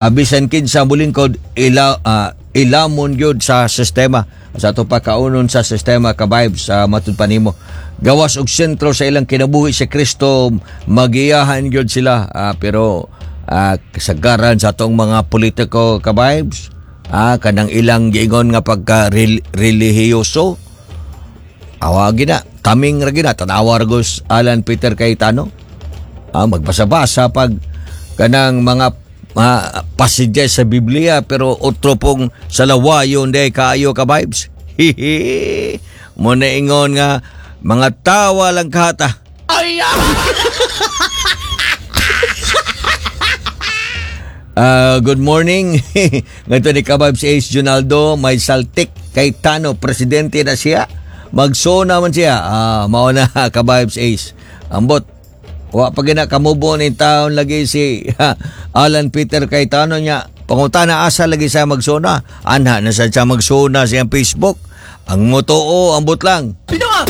Bisan kinsa mulingkod, ila ilamon gyud sa sistema sa ato pa kaunon sa sistema, ka-vibes. Sa matud pa nimo, gawas og sentro sa ilang kinabuhi si Kristo, magiyahan gyud sila. Pero kasagaran sa atong mga politiko, ka-vibes, kanang ilang giingon nga pagka relihiyoso, awa gina, taming ra gina. Tanawa ra gus Alan Peter Cayetano, magbasa-basa pag kanang mga passages sa Biblia, pero otro pong sa lawayon day kaayo, ka-vibes. Hihi, mo na ingon nga mga tawa lang kahata. Good morning. Ngayon ni ka-vibes Ace Junaldo, may saltik Cayetano, presidente na siya. Magsona man siya. Mao na, ka-vibes Ace. Ambot. Wa pa gina kamubo ni taon lagi si Alan Peter Cayetano niya. Pangutana asa lagi siya magsona. Anha na sa siya magsona siyang Facebook. Ang motoo, ambot lang. Bitaw!